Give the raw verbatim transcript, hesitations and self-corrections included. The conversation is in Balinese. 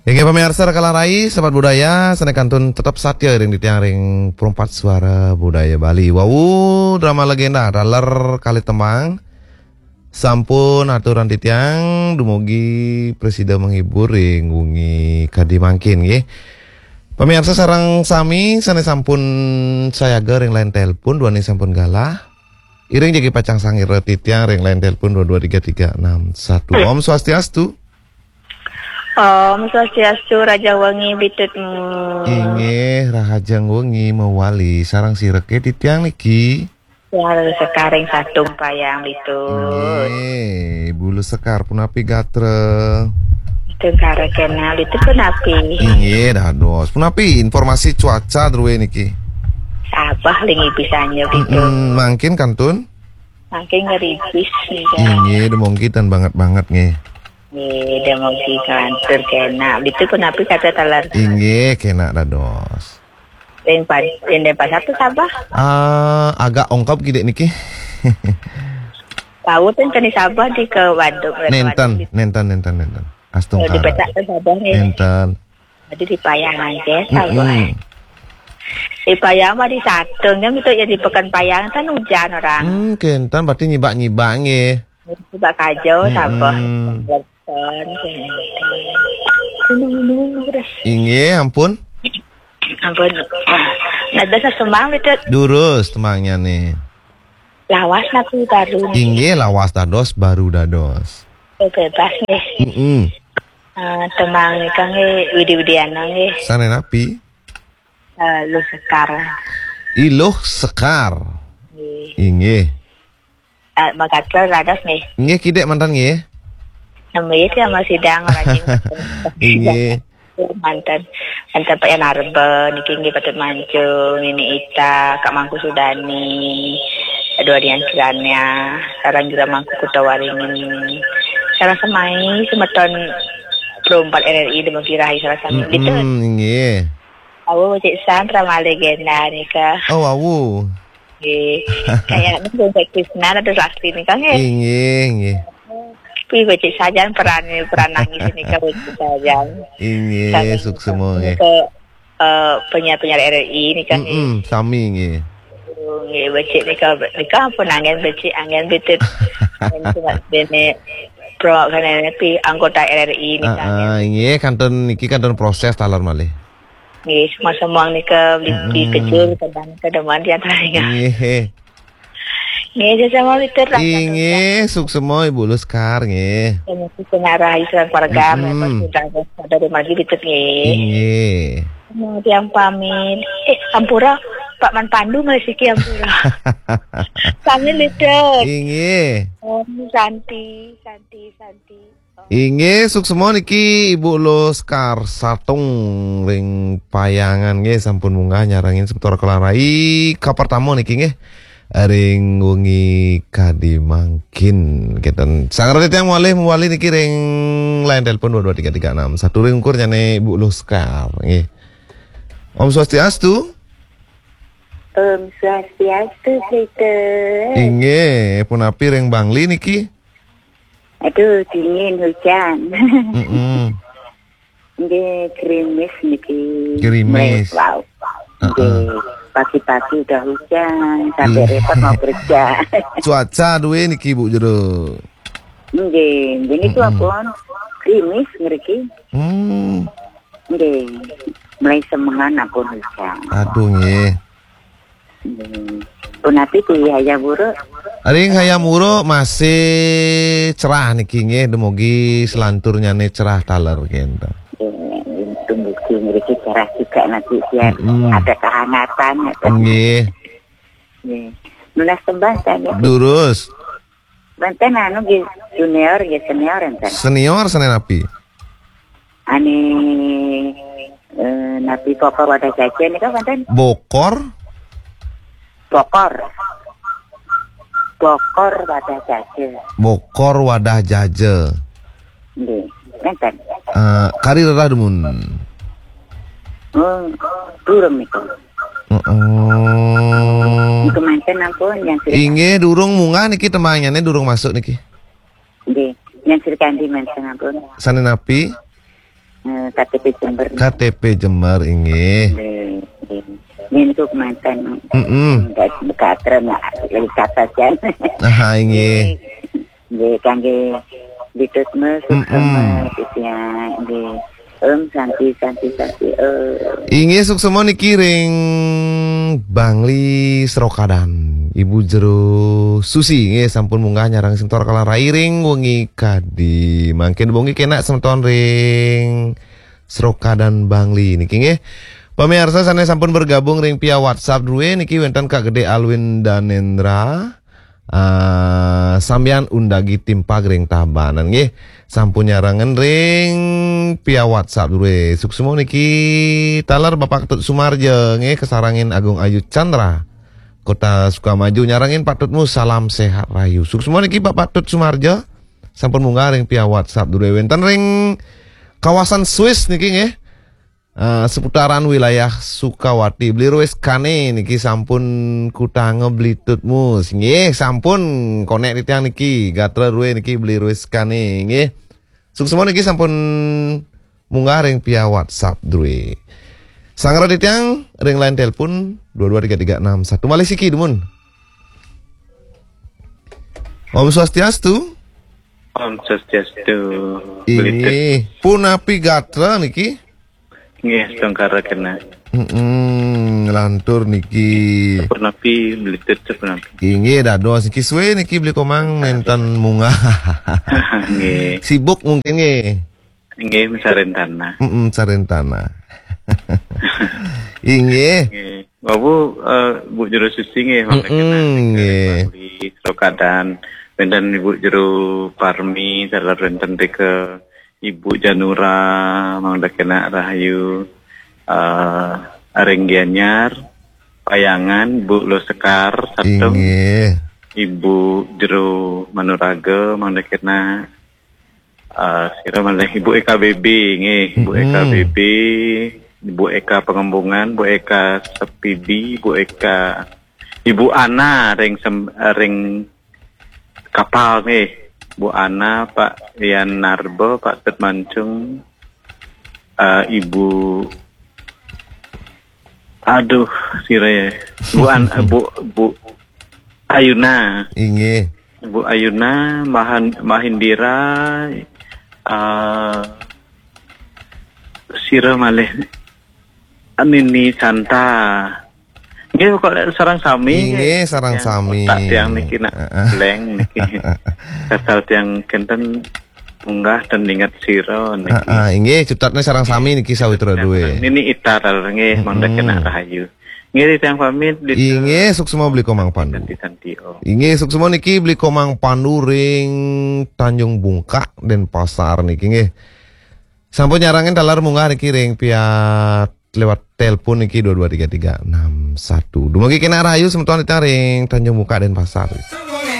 Inggih pamiarsa Rekalan Rai, Sebat Budaya, sané kantun tetep satya ring titiang ring Perempat Suara Budaya Bali. Wau drama legenda taler kalih tembang sampun aturang titiang, dumugi prasida menghibur ring wengi kadi mangkin nggih. Pamiarsa sareng sami sané sampun sayaga ring line telepon, duaning sampun galah. Iring jagi pacang sangira titiang ring line telepon dua dua tiga tiga enam satu. Om Swastiastu. Om Swastiastu, rahajeng wengi Bitut. Hmm. Inggih, rahajeng wengi mawali. Sareng sira ké titiang niki? Sareng Sekar ring Satung Payang Bitut. Inggih, Ibu Luh Sekar punapi gatra? Tengkara kenal itu punapi? Inggih, dados. Punapi informasi cuaca drué niki? Sabah ling ibisanya Bitut. Mm-mm, mangkin kantun? Mangkin ngeripis nih, kan. Inggih, dumugi tan banget-banget nggih. Nggih, dumugi kelantur kenak. Itu punapi kata taler? Inggih, kenak dados. Ring pa-, ring Denpasar tuh Sabah? Ah, agak ongkop kidik niki. Tahu tuh kan di Sabah di ke Waduk, ke Nénten, Waduk di nénten, nénten, nénten. Astungkara. Oh, di petak tuh Sabah nih. Nénten. Jadi di Payangan, ya, Sabah. Mm-mm. Di Payangan mah di Satung, kan itu ya di Pekan Payangan kan hujan orang. Hmm, kénten berarti nyibak-nyibak nggih. Nyibak kajau, Sabah. Mm-mm. Kan, ini, ini, ini, udah. Inggih, ampun. Ampun. Nah, dasar semang itu. Durus tembangnyané. Lawas napi baru? Inggih, lawas dados baru dados. Oh, bebas nggih. Mm-mm. Eh, tembang nika nggih Widi Widiana nggih. Sané napi? Eh, Luh Sekar. I Luh Sekar. Nggih. Inggih. Eh, makaten dados nggih. Nggih, kidik manten nggih. Nami ya masih dang rajin. Inggih. Manten, manten Pak Yan Arba, niki nggih Patut Mancung, Nini Ita, Kak Mangku Sudani, Dua Dian Kiranya, sareng Jura Mangku Kuta Waringin. Sareng semai semeton Pro empat R R I dumugi rahayu sareng sami. Mm-mm, gitu. Inggih. Awu, Cik Sandra malih legenda nika. Oh, awu. Nggih. Kayaknya Bung Cik Krisna ada lastri nika nggih. Inggih, inggih. Pi becik sajan peran, peran nangis nika becik sajan. Inggih, sajan suksema nggih. Nika, eh, penyiar-penyiar R R I nika nggih. Mm-mm, sami nggih. Oh, nggih, becik nika, nika ampun anggen becik, anggen Bitut. Cuma dene pro kan pi anggota R R I nika. Ah, ah, nggih. Inggih, kantun niki kantun proses taler malih. Nggih, semua-semua nika beli, beli kecil, kadang-kadang mandi antaranya. Nggih. Nggih, sesama Bitut lah. Inggih, suksema Ibu Luskar nggih. Sesama Bitut ngarah Islam keluarga, mm-mm, mereka sudah ada di maju Bitut nggih. Inggih. Mau tiang pamit. Eh, ampura, Pak Man Pandu masih ki ampura. Pamit Bitut. Inggih. Om Santi, Santi, Santi. Inggih, suksema niki Ibu Luskar Satung ring Payangan nggih, sampun munggah nyarengin semeton Rekalan Rai kapertama niki nggih. Ring wengi kadi mangkin kenten. Sanget titiang malih mawali niki ring line telepon dua dua tiga tiga enam satu ring ukur nyane Ibu Luskar nggih. Om Swastiastu. Om Swastiastu, Peter. Inggih, punapi ring Bangli niki? Aduh, dingin hujan. Mm-mm. Nggih, gerimis niki. Gerimis. Mulai, wow. Heeh. Nggih, pagi-pagi udah hujan, sampai, ih, repot mau kerja. Cuaca duwe niki, Bu, jero. Nggih, nggih niku, mm-mm, ampun gerimis ngriki. Hmm. Nggih, mulai semengan ampun hujan. Aduh, nggih. Hmm. Punapi di Hayam Wuruk? Ring Hayam Wuruk masih cerah niki nggih, dumugi selanturnyane cerah taler kenten. Nggih, dumugi mriki cerah juga nanti biar, mm-mm, ada kehangatan, ya, kan? Nggih. Nggih. Nunas tembang, kan, ya? Durus. Menten anu nggih, junior nggih, senior enten. Senior senen napi? Ane, eh, napi Bokor Wadah Jaja nika menten? Bokor? Bokor. Bokor Wadah Jaja. Bokor Wadah Jaja. Nggih, menten. Eh, kari rerah dumun. Hmm, durung niku. Heeh. Niku menten ampun yang Sri. Inggih, durung munggah niki, tembangnyané durung masuk niki. Nggih, yang Sri Kandi menten ampun. Sané napi? eh, K T P Jember. K T P Jember, inggih. Nggih, nggih. Nyentuk mantan. Mm-mm. Enggak, enggak terima, enggak saja. Aha, inggih. Nggih, kangge Bitus Mes, Mm-mm. Sukses, ya, nggih. Om Santi, Santi, Santi, eh. Inggih, suksema niki ring Bangli Srokadan. Ibu Jero Susi, nggih, sampun munggah nyarengin semeton kala rairing wengi kadi. Mangkin wengi kenak semeton ring Srokadan Bangli niki, nggih. Pamiarsa sane sampun bergabung ring via WhatsApp druwe niki wenten Kak Gede Alwin Danendra. Ah, sambian undagi timpag ring Tabanan, nggih. Sampun nyarengin ring via WhatsApp druwe. Suksema niki taler Bapak Tut Sumarja, nggih, kasarengin Agung Ayu Chandra, Kota Sukamaju, nyarengin Pak Tutmu salam sehat rahayu. Suksema niki Bapak Tut Sumarja. Sampun munggah ring via WhatsApp druwe wenten ring kawasan Swiss niki, nggih. Eh, seputaran wilayah Sukawati. Beli Ruiz Kane niki sampun kutanga Beli Tutmu. Nggih, sampun konek titiang niki. Gatra druwe niki Beli Ruiz Kane, nggih. Suksema niki sampun munggah ring via WhatsApp druwe. Sanggra titiang ring line telepon dua dua tiga tiga enam satu. Malih siki, dumun. Om Swastiastu. Om Swastiastu. Inggih, punapi gatra niki? Nggih, astungkara kena. Mm-mm, lantur niki. Punapi, Beli Tut, punapi. Inggih, dados niki suwe niki Beli Komang nenten munggah. Nggih. Sibuk mungkin, nggih. Nggih, sareng tanah. Mm-mm, sareng tanah. Inggih. Nggih. Bapak, eh, Bu Jero Susi nggih, mangkin Mm-mm, nggih. Bangli Srokadan, wenten Ibu Jero Parmi, taler wenten rika Ibu Janura, mangda kenak rahayu, eh, ring Gianyar, Payangan, Bu Lo Sekar, Satung, Inggih. Ibu Jero Manuraga, mangda kenak, eh, sira malih Ibu Eka B B, nggih, Ibu Eka Mm-mm. B B, Ibu Eka Pengembungan, Bu Eka Sepidi, Bu Eka, Ibu Ana ring sem-, ring kapal nggih. Bu Ana, Pak Yan Narba, Pak Tet Mancung, eh, Ibu, aduh, sira ya. Bu An-, Bu, Bu Ayuna. Inggih. Bu Ayuna, Mahan-, Mahindira, eh, sira malih Nini Santa. Nggih, kok lek sareng sami, Inggih, nggih. Sareng Tiang sami. Otak tiang niki nak Heeh. Blank niki. Asal tiang kenten munggah dan ingat sira niki. Heeh, inggih, cutetne sareng sami niki sawitra duwe. Nini Ita taler nggih, Mm-mm. mangda kenak rahayu. Nggih, tiang pamit, Beli Tut. Inggih, suksma Beli Komang Pandu. Santi, Santi, oh. Inggih, suksma niki Beli Komang Pandu ring Tanjung Bungkak, Denpasar niki, nggih. Sampun nyarengin taler munggah niki ring via lewat telepon niki dua dua tiga tiga enam satu. Dumugi kenak rahayu semeton titiang ring Tanjung Bungkak, Denpasar.